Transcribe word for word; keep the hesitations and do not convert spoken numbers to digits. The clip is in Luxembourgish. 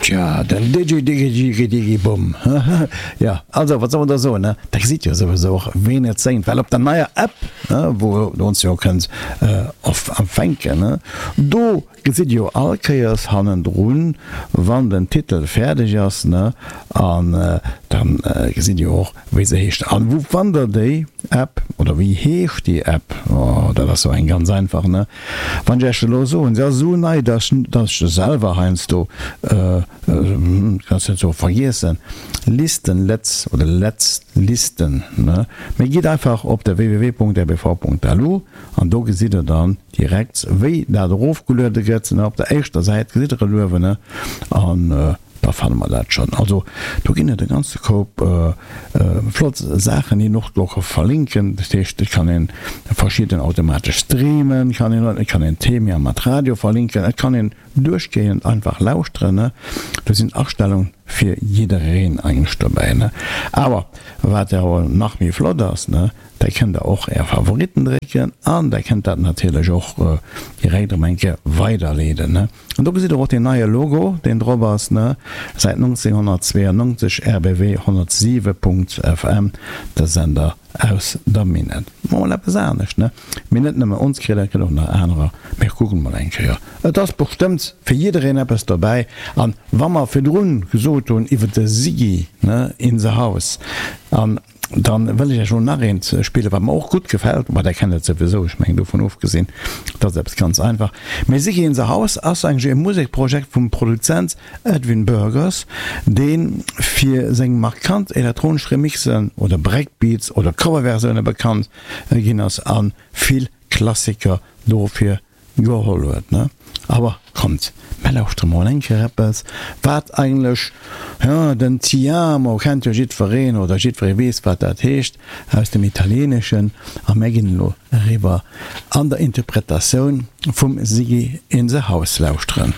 Tja, den Digi Digi Digi Digi Bum. Jo, also, wat soll mer da soen, ne? Der gesitt jo souwisou och, ween et séngt, well op der neier App, wou Der ons jo kënnt empfänken, ne, do gesitt Dir jo all Kéiers hannendrun, wann den Titel fäerdeg ass, ne, an dann gesitt Dir och, wéi se heescht. An wou fannt Der déi App oder wéi heescht déi App? Oh, dat ass jo eng ganz einfach, ne? Wann ech Iech elo soen, se ass esou nei, dass ech se selwer heiansdo, ganz net sou, vergiessen, Listen, Letz oder Letz Listen, ne? Mee gitt einfach op de www.rbv.lu an do gesitt Der dann direkt, wéi dat erofgeluede gëtt, ne? Op der éischter Säit gesitt Der et uewen, ne? An da fanne mer dat schonn. Also do ginn et e ganze Koup flott Saachen, déi een och do ka verlinken. Dat heescht, et kann een verschidden automatesch streamen, kann een, et kann een Themae mat Radio verlinken, et kann een duerchgehend einfach lauschteren. Do sinn Astellunge fir jiddereen eigentlech dobäi. Awer wat awer nach méi flott ass, da kënnt der och är Favoritten drécken an der kënnt dat natierlech och direkt erëm eng Kéier weiderleeden. An do gesitt der och deen neie Logo, deen drop ass, säit nonzénhonnertzweeënnonzeg R B W honnertsiwe Punkt F M, de Sender aus der Minett. Mol eppes anescht, ne? Mee net nëmme ons kritt, et gëtt och nach anerer. Mir kucken mol eng Kéier. Et ass bestëmmt fir jiddereen eppes dobäi. An wa mer virdrun gesot hunn iwwer de Siggy, ne, in the house, an dann wëll ech Iech elo nach eent spillen, wat mer och gutt gefält. Ma der kennt et souwisou, ech mengen dovun ofgesinn, dat ass eppes ganz einfach. Mee Siggy in the House ass eigentlech e Musekprojekt vum Produzent Edwin Burgers, dee fir seng markant elektronesch Remixen oder Breakbeats oder Coverversioune bekannt ginn ass a vill Klassiker dofir geholl huet, ne? Awer kommt, mer lauschtere mol eng Kéier eppes, wat eigentlech, jo, den Ti amo kennt jo jiddwereen, oder jiddweree weess, wat dat heescht aus dem Italieeneschen. A mir ginn elo eriwwer an der Interpretatioun vum Siggy in the House lauschteren.